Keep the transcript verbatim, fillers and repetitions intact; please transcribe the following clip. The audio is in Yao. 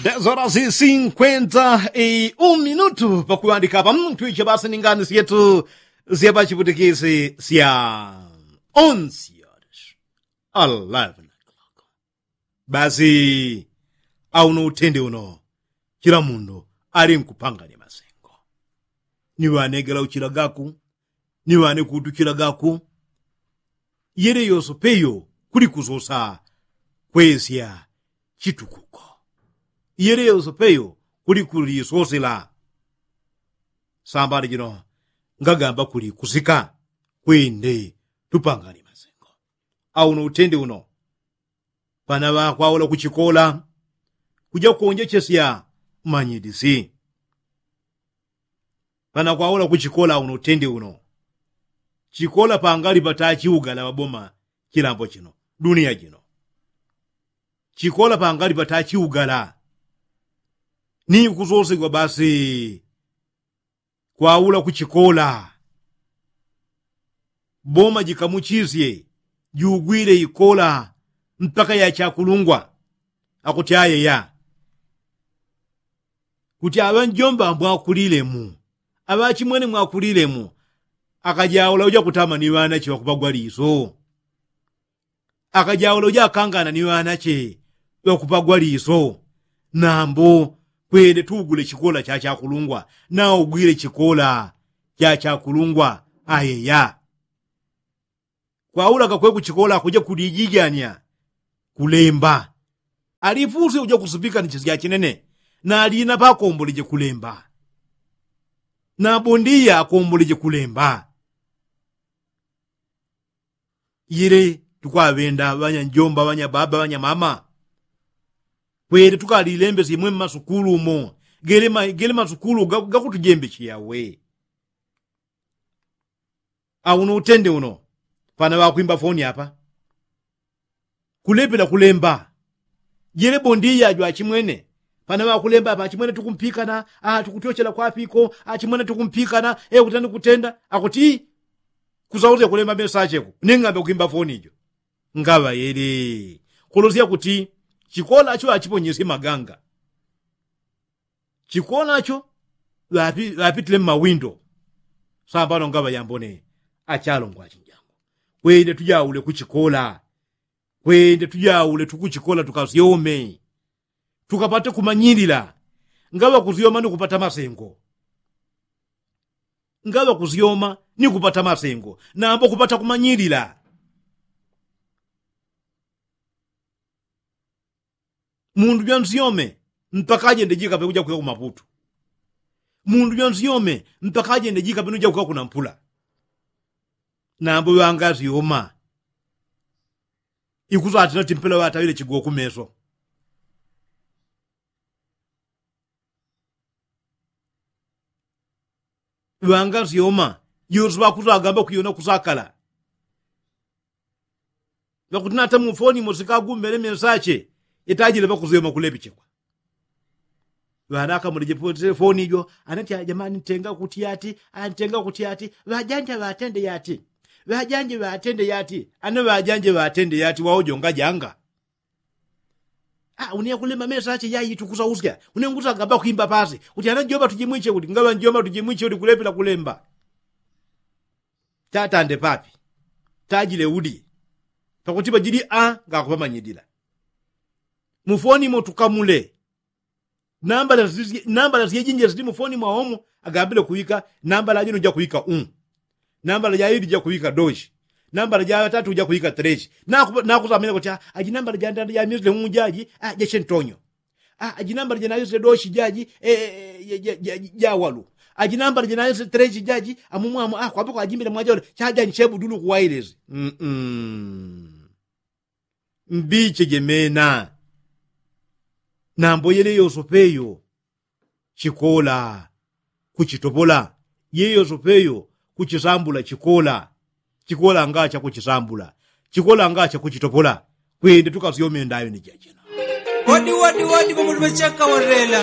Dez horas i sinkwenta i un minutu pakuŵandika apa mtwiche basi ni ngani syetu sya pachiputikisi sya onsyot. Eleven o'clock. Basi auno utende uno chila mundu ali nkupanganya masengo. Ni ŵanegela uchila gaku, ni ŵane kuutuchila gaku. Yele yoso peyo kuli kusosa kwesya chitukuko. Yele yoso peyo kuli kulisosela. Sambali jino ngagamba kuli kusika kwende tupangani masengo. Auno utende uno pana ŵakwaula kuchikola kuja kuonjechesya manyidisi. Pana kwaula kuchikola uno tende uno. Chikola pangali patachiugala ŵaboma chilambo chino, dunia jino. Chikola pangali patachiugala. Ni kusosegwa basi kwaula kuchikola. Boma jikamuchisye jugwile ikola mpaka ya chakulungwa. Akuti ayeya kuti aŵanjomba mwakulilemu, aŵachimwene mwakulilemu. Akajaula uja kutama ni ŵanache ŵakupagwa liso. Akajaula uja akangana ni ŵanache ŵakupagwa liso. Nambo kwende tugule chikola cha chakulungwa. Naugwile chikola cha chakulungwa ayeya. Kwaula kakwe kuchikola kuja kulijijanya kulemba. Alifuse uja kusupika ni chisya chinene. Na alina pakomboleje kulemba. Na bondia akomboleje kulemba. Yele tukwaŵenda ŵanyanjomba ŵanyababa ŵanyamama. Kwele tukalilembesye mwe mmasukulu umo. Gele masukulu gakutujembecheya we. Auno utende uno pana ŵakwimba foni apa. Kulepela kulemba. Jele bondiya jwachimwene pana ŵakulemba apa achimwene tukumpikana. Tukutyochela kwapiko achimwene tukumpikana. Ekutani kutenda akuti kusausya kulemba mesacheku ning'ambe kwimba foni ijo. Ngaŵa yele kulosya kuti chikolacho achiponyesye maganga. Chikolacho ŵapitile mmawindo. Sambano ngaŵa yambone achalongwa achinjangu. Kwende tujaule kuchikola. Kwende tujaule tukuchikola tukasyome tukapate kumanyilila. Ngaŵa kusyoma ni kupata masengo. Ngaŵa kusyoma ni kupata masengo nambo kupata kumanyilila. Mundu jwansyome mpaka ajende jikape ujakwika kumaputu. Mundu jwansyome mpaka ajende jikape nujakwika kunampula. Nambo ŵangasyoma ikusatila timpela ŵataŵile chigoku meso. Ŵangasyoma yosi ŵakusagamba kuyona kusakala. Ŵakuti nata mufoni mosi kagumbele mesache itajile ŵakusyoma kulepichikwa. Ŵanakamulije foni ijo anati ajamani ntenga kuti yati. Antenga kuti yati. Ŵajanja ŵatende yati. Ŵajanje ŵatende yati. Ana ŵajanje ŵatende yati waujongajanga. Une yakulemba mesa ache yayi tukusausya une ngusagamba kwimba pasi kuti ana jomba tujimwiche kuti ngaŵa njomba tujimwiche kuti kulepela kulemba. Tatande papi tajile udi. Pakuti pajili a ngakupamanyidila. Mufoni motukamule. Nambala syejinjila sili mufoni mwaomo agambile kuwika nambala ajino jakuwika u. Nambala jaili jakuwika doshi. Nambala jaŵatatu jakuwika treshi. Nakusamina kuti aji nambala jandanda jamisile u jaji. Jache ntonyo. Aji nambala janawisile doshi jaji. Jawalu. Aji nambala janawisile treshi jaji amumwamo kwapako ajimbile mwajawalu. Chajani chebudulu kuwailesi. Mbiche jemena. Nambo yele yosopeyo chikola kuchitopola. Yele yosopeyo kuchisambula chikola. Chikola nga chakuchisambula. Chikola nga chakuchitopola. Kwende tukasyome ndayo ni jachena. Wadi wadi wadi pamutu pachaka warela.